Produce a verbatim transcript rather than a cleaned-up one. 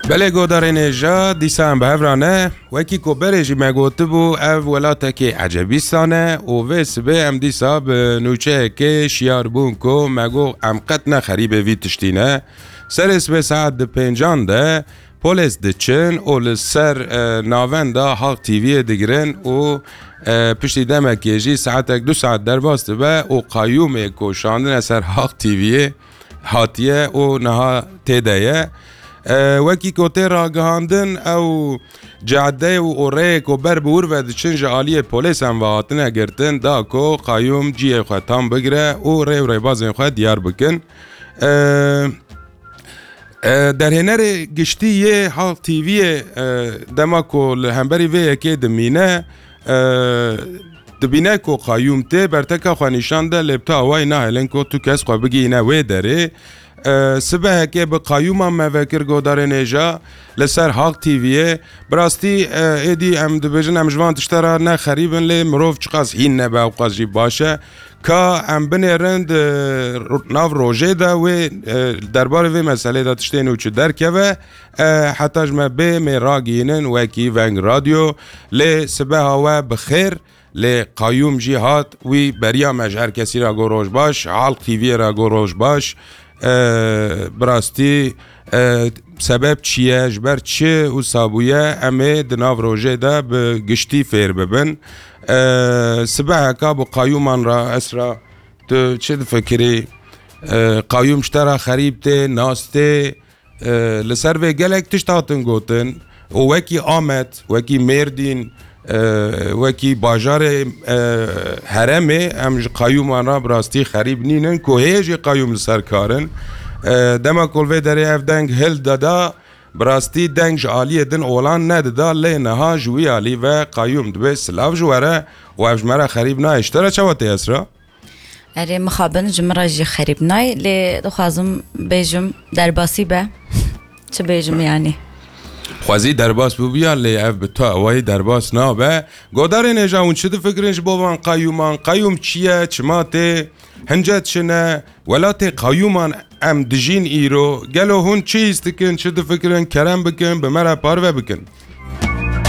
Belê godarên hêja, dîsa em bi hev re ne. Wekî ku berê jî me gotibû, ev welatekê ecebîstan e û vê sibê em dîsa bi nûçeyekê şiyar bûn ku me got em qet ne xerîbê vî tiştî ne. Serê sibê saet di pêncan de polês diçin û li ser, e, navenda Halk T V'yê digirin û, e, piştî demekê jî saetek du saet derbas dibe û qayûmê ku şandine ser Halk T V'yê hatiye û niha tê de ye. E, wekî ku tê ragihandin, ew cadeyê û rêyê ku ber bi wir ve diçin ji aliyê polêsan ve hatine girtin, da ku qayûm cihê xwe tam bigire û rê û rêbazên xwe diyar bikin. E, e, derhênerê giştî yê Halk T V'yê, e, dema ku li hemberî vê yekê dimîne, e, dibîne ku qayûm tê berteka xwe nîşan de, lê bi tu awayî nahêlin ku tu kes xwe bigihîne wê derê. E, sibehekê bi qayûman me vekir godarên hêja li ser Halk T V'yê. Bi rastî, e, êdî em dibêjin em ji van tişta re ne xerîb in, lê mirov çiqas hîn nebe ewqas jî baş e. Ka em binêrin di ro-, nav rojê de wê, e, derbarê vê meselê de tiştê nû çi derkeve, e, heta ji me bê mê ragihînin wekî Veng Radyo, lê sibeha we bi xêr, lê qayûm jî hat, wî beriya me ji her kesî re got roj baş, Halk T V'yê re got roj baş. E, bi rastî, e, sebeb çi ye, ji ber çi wisa bûye, em ê di nav rojê de bi giştî fêr bibin. E, sibeheka bi qayûman re, Esra, tu çi difikirî? E, qayûm ji te re xerîb tê, nas tê? E, li ser vê gelek tişt hatin gotin û wekî Amed, wekî Mêrdîn, e, wekî bajarê, e, herêmê, em ji qayûman re bi rastî xerîb nînin ku hê jî qayûm li ser kar in. E, dema ku li vê derê ev deng hildida, bi rastî deng ji aliyê din olan nedida, lê niha ji wî alî ve qayûm dibê silav ji we re û ev ji me re xerîb nayê. Ji te re çawa tê, Esra? Erê, mixabin, ji min re jî xerîb nayê, lê dixwazim bêjim derbasî be. Çi bêjim yanî? Xwezî derbas bûbiya, lê ev bi tu awayî derbas nabe. Godarên hêja, hûn çi difikirin ji bo van qayûman? Qayûm çi ye? Çima tê? Hincet çi ne? Welatê qayûman em dijîn îro. Gelo hûn çi hîs dikin, çi difikirin? Kerem bikin, bi me re parve bikin.